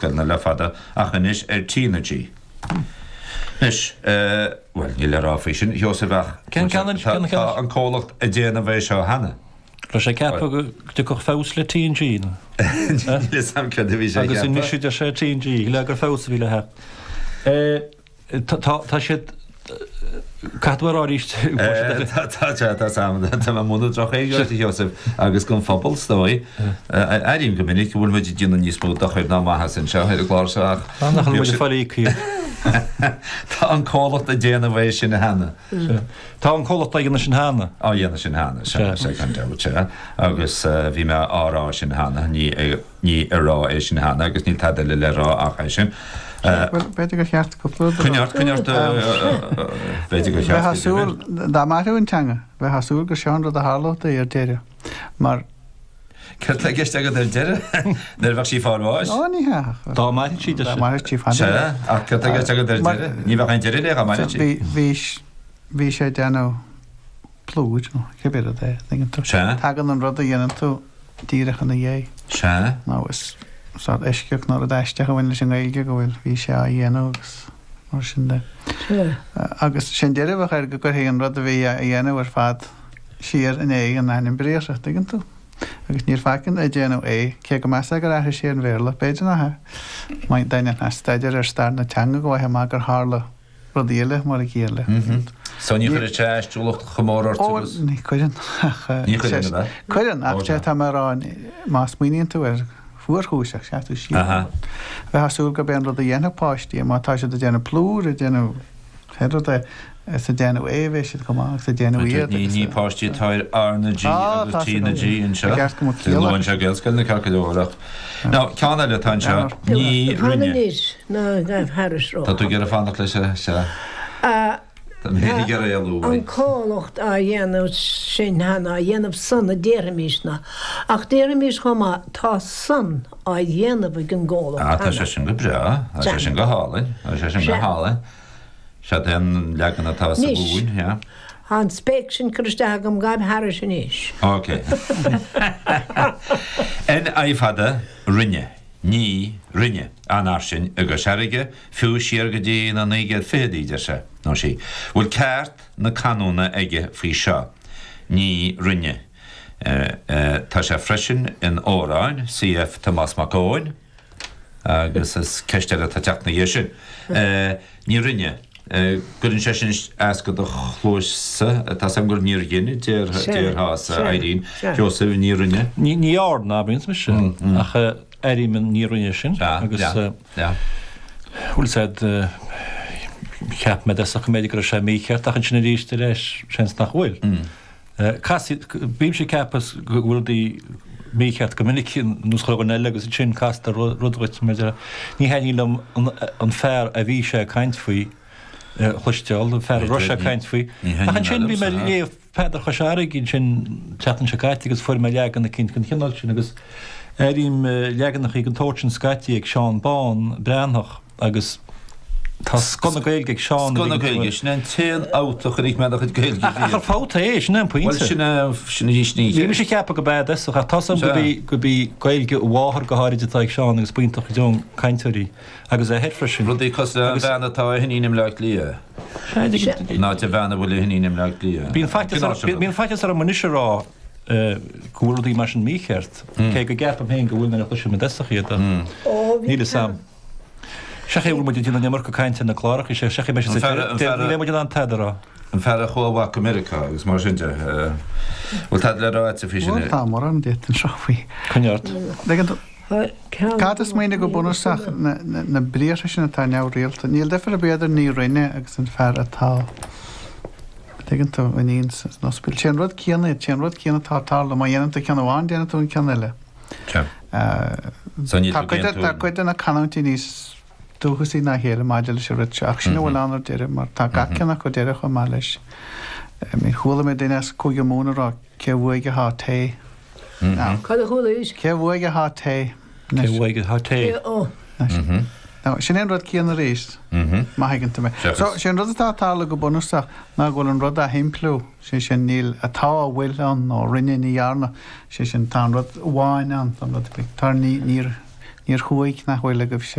Gaelscoileanna le fada ach anois ar T na G. Anois, bhuel, níl le rá faoi sin, Sheosaimh, ach tá an comhlacht ag déanamh é seo cheana. Raibh sé ag ceapadh go dtiocfadh feabhas le T and G, nó? Níl fhios a'm céard a bhí sé ag ceapadh. Agus anois a deir sé T and G, le gur feabhas a bhí le theacht. Tá siad, caithfidh tú a rá arís. Tá, tá, tá Sam, tá mé ag múineadh droch-Ghaeilge duit, a Sheosaimh, agus don phobal, is dóigh. Airím go minic go bhfuil muid ag déanamh níos mó dochair ná maitheas anseo ar an gclár seo ach. Tá, nach bhfuil muid ag fáil íoctha. Tá an comhlacht ag déanamh é sin cheana. Tá an comhlacht á dhéanamh sin cheana. Á dhéanamh sin cheana, sea, sea, gan dabht, sea. Agus bhí mé á rá sin cheana, ní ag. Ní ag rá é sin cheana agus níl tada eile le rá ach é sin. Bhuel, b'fhéidir gur cheart cúpla rud a rá. Coinnigh ort, coinnigh ort, b'fhéidir gur cheart. Bheifeá ag súil, dá mairfeadh an teanga, bheifeá ag súil gur seo an rud a tharlódh di ar deireadh, mar. Céard tá i gceist agat ar deireadh? Nuair a bheadh sí ag fáil bháis? Ó, ní hea. Dá mairfeadh sí, deir sé. Dá mairfeadh sí fada. Sea, ach céard tá i gceist agat ar deireadh? Ní bheadh aon deireadh léi dá mairfeadh sí. Bhí, bhí, bhí sé ag déanamh plúir nó cibé rud é, tuigeann tú. Sea. Tagann an rud a dhéanann tú díreach ina dhiaidh. Sea. Nó is sórt eisceacht nó rud aisteach a bhain leis an nGaeilge go bhfuil, bhí sé á dhéanamh agus mar sin de. Sea. Agus sé'n deireadh a bheadh air go gcuirfí an rud a bhí á dhéanamh ar fad siar in aghaidh an ainm briathartha, tuigeann tú. Agus níor faic ag déanamh é, cé go measfá gur athraigh sé an Bhéarla, b'fhéidir nach ea. Má dhéanann staidéar ar stair na teanga go bhfaighfeá amach gur tharla rudaí eile mar a chéile. So ní chuireann sé aistiúlacht chomh mór ort agus. Ó, ní chuireann ach. Ní chuireann, ab ea? Cuireann, ach sé tá mé a rá, má smaoiníonn tú air, fuarchúiseach, sea tú siar. Bheifeá ag súil gurb é an rud a dhéanfadh páistí, má tá siad ag déanamh plúr, ag déanamh pé rud é, is ag déanamh é a bheidh siad chomh maith agus ag déanamh iad agus. Ní páistí atá ar R na G agus T na G anseo. Luann sé Gaelscoileanna ceart go leor ach. Now, ceann eile atá anseo, ní Fan rinne. anois, ná gabh thairis Tá tú ag iarraidh fanacht leis, sea. Tá mé ag iarraidh éalú An uaidh. comhlacht á dhéanamh sin cheana, á dhéanamh san a déarfaimis ná. Ach déarfaimis chomh maith, tá san á dhéanamh ag an gcomhlacht Ah, tá cheana. sé sin go breá. Tá sé sin go hálainn. Tá sé sin go hálainn. Seod é an leagan atá sa Anois, Mhumhain, yeah. tá an spéic sin curtha isteach agam, gabh thairis anois. Ok. NI fada, rinne, ní rinne, an-fhairsing i gCois Fharraige, fiú siar go dtí na 1920idí, deir sé, nó sí. Bhfuil ceart na canúna aige faoi seo? Ní rinne. Tá sé freisin in Órán, cf. Tomás Mac Eoin. Agus is ceist eile atá ag teacht ina dhiaidh sin. Ní rinne. Gcuireann sé sin as do chluasa? Tá 's agam gur níor dhein a déarfása, Irene. Sheosaimh, ní rinne. Ní dhearna, abraíonns mise, ach airím an ní rinne sin agus bhfuil 's a'd, cheap mé i dtosach go mb'fhéidir go raibh sé mícheart ach ansin arís ar ais seans nach bhfuil. Casfaidh, bímse ag ceapadh go bhfuil rudaí mícheart go minic nós chuile dhuine eile agus ansin castar rud dhuit mar a déarfá. Ní thaitníonn liom an fear a bhí sé ag caint faoi a chloisteáil, an fear a raibh sé ag caint faoi. Ach ansin bhí mé ag léamh Peadar Chois Fharraige ansin an tseachtain seo caite agus fuair mé leagan eicínt den chineál sin agus airím leaganachaí den tsórt sin scaití ag Seán Bán Breathnach. Agus tá scoth na Gaeilge ag Seán. Scoth na Gaeilge, sin é an t-aon fhabht a chonaic mé dá chuid Gaeilge riamh. Ach ar fabht é, sin é an pointe. Bhuel, sin é, sin é, sin é. Ní mise a cheapadh go b'ea dtosach, ach tá's agam go b'í, go b'í Gaeilge a mháthar go háirid atá ag Seán agus b'iontach go deo an cainteoir í. Agus a athair freisin. Rudaí cosúil le an bhean atá a hiníon i mBleá Cliath. In áit an bhean a bhfuil a hiníon i mBleá Cliath. Bíonn faitíos, bíonn faitíos orm anois a rá go bhfuil rudaí mar sin mícheart, cé go gceapaim féin go bhfuil nuair a chloisim i dtosach iad, ach níl fhios a'm. Seo é a bhfuil muid ag déanamh an iomarca cainte ar na cláracha seo, seo é beidh sé sa deireadh, ní bheidh muid in ann tada a rá. An fear a chuaigh amach go Meiriceá agus mar sin de. Bhfuil tada le rá agat faoi sin? Bhuel, tá mórán d'fhéadfainn a rá faoi. Coinnigh ort. Tuigeann tú, caithfidh tú smaoineamh go bunúsach, na briathra sin atá neamhrialta, níl difear ar bith idir ní rinne agus an fear atá, tuigeann tú, iníon san ospidéal. Sé an rud céanna iad, sé an rud céanna atá ag tarlú, má dhéanann tú ceann amháin, déanann tú an ceann eile. Tá cuid de na canúintí níos dúchasaí ná a chéile maidir leis an rud seo, ach sin a bhfuil ann ar deireadh, mar tá gach ceann acu deireadh chomh maith leis. I mean, chuala mé duine as Cúige Mumhan ag rá, cé uaidh atá tae? Now, Cad a chualaís? Cé uaidh atá tae? Cé uaidh atá tae? Now, sin é an rud céanna arís, má thuigeann tú mé. So, sé an rud atá ag tarlú go bunúsach ná go bhfuil an rud á shimpliú. Sé sin, níl atá, a bhfuil ann, nó rinne, ní dhearna. Sé sin, tá an rud amháin ann, tá an rud, tá, ní, níor, Níor chuaigh nach bhfuil agaibhse.